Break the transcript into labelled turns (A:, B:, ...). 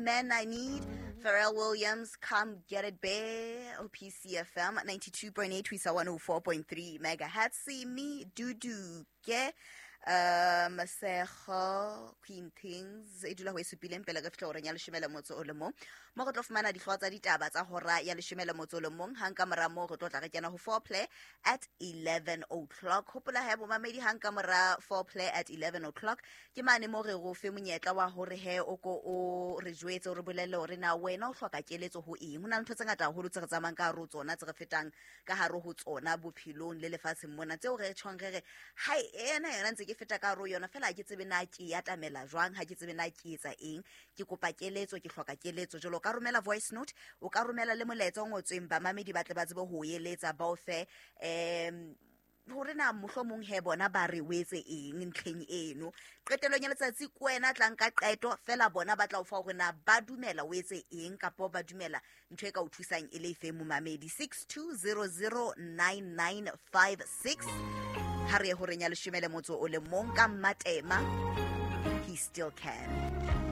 A: Man I Need, Pharrell Williams, Come Get It Bear, OPCFM 92.8 ho isa 104.3 megahertz. See me Dudu ke Masego Queen Things e dula ho e supileng pele re fihla horeng ya leshome le motso o le mong, mo re tlo fumana dihlooho tsa ditaba tsa hora ya leshome le motso o le mong. Hang ka mora moo re tlo tla re kena ho foreplay at 11 o'clock. Hopola he bomamedi, hang ka mora foreplay at 11 o'clock ke mane mo re go fe monyetla wa hore he o ko o re jwetse, o re bolelle hore na wena o hloka keletso ho eng. Ho na le ntho tse ngata haholo tse re tsamayang ka hare ho tsona, tse re fetang ka hare ho tsona bophelong le lefatsheng mona, tseo re tjhong re re hai ena yona ntse ke feta ka hare ho yona fela, ha ke tsebe na ke e atamela jwang, ha ke tsebe na ke etsa eng, ke kopa keletso, ke hloka keletso. Jalo o ka romela voice note, o ka romela le molaetsa o ngotsweng, bamamedi ba tle ba tsebe ho o eletsa, ba o fe hore na mohlomong he bona ba re o etse eng ntlheng eno. Qetelong ya letsatsi ke wena tlang ka qeto fela, bona ba tla o fa hore na ba dumela o etse eng kapa ba dumela ntho e ka o thusang e le efe. Momamedi, 62009956 ha re ye horeng ya leshome le motso o le mong ka Mmatema, He Still Can.